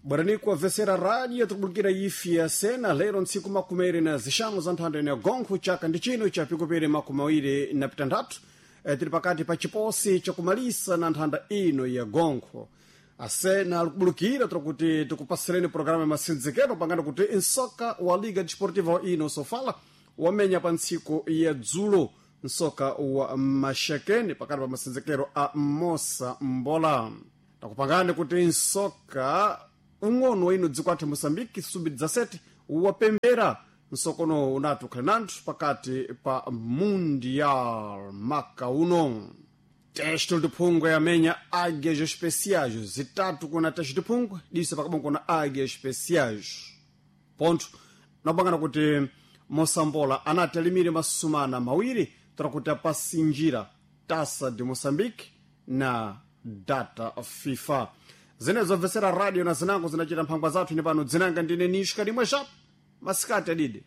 Bwerani kuwavesera rádio tikubulukira ifi ya sena lero ntsiku makumeri na zixanu za nthanda ino ya gonkho chaka ndi chino cha pikupiri makumi awiri na pitanthatu. Tili pakati pa chiposi chakumalisa na nthanda ino ya gonkho. Asena alikubulukira tiri tikupasireni programa ya masindzikelo pangana kuti nsoka wa Liga Desportiva ino Sofala wamenya pa ntsiku ya dzulo nsoka wa Maxakeni pakati pa masindzikelo a Mosa Mbola. Takupangani kuti nsoka ung'ono ino dziko athu Moçambique sub-17 wapembera nsokono unati ukhale nanthu pakati pa Mundial maka uno. Teste de phungwe yamenya Águias Especiais zitatu kuna teste de phungwe disa pakabongo kuna Águias Especiais ponto. Nakupangana kuti Mosambola anati alimire masumana mawiri tara kuti apasinjira Taça de Moçambique na data FIFA. Zinezo bvesera radio na zinango zinachita mphangwa zathu ine pano dzinanga ndine Nishka limwe xapo masikati adide.